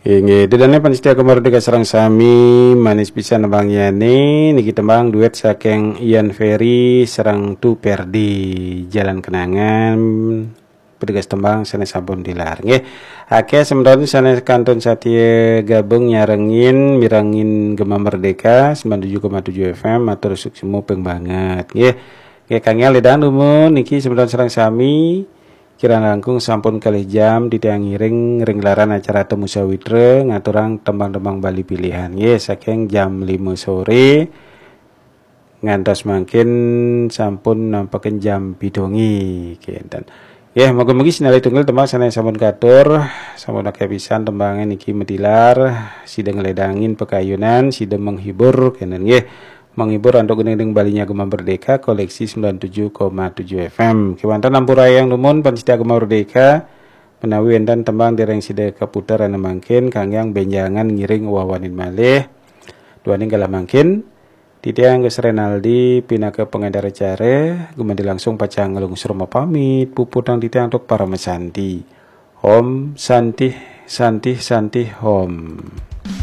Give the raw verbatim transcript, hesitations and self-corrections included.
Inggih, ida dané pamiarsa Gema Merdeka sareng sami, manis pisan tembangnyané niki tembang duet saking Ian Ferry sareng Tu Perdi, Jalan Kenangan. Petugas tembang sané sampun tilar. Nggih, akéh semeton sané kantun satia gabung nyarengin mirengin Gema Merdeka sembilan tujuh koma tujuh F M, matur suksma ping banget. Nggih. Nggih, kangge ledang dumun niki semeton sareng sami kirang langkung sampun kalih jam titiang ngiring ring gelaran acara Temu Sawitra ngaturang tembang-tembang Bali pilihan. Nggih, saking jam lima sore ngantos mangkin sampun nampekin jam pitu wengi. Kenten. Nggih, mugi-mugi sinalih tunggil tembang sané sampun katur, sampun akéh pisan tembangé niki matilar, sida ngledangin pakayunan, sida menghibur kenten nggih. Menghibur antuk gending Bali nya Gema Merdeka koleksi sembilan tujuh koma tujuh F M. Kéwanten ampurayang dumun pamiarsa Gema Merdeka menawi wénten tembang dereng sida kaputer ana mangkin kangge bénjangan ngiring wawanin malih. Duaning galah mangkin, titiang Gus Renaldi pinaka pangénter acara, gumanti langsung pacang nglungsur mapamit, puputang titiang antuk parama santi. Om Santih, Santih, Santih, Om.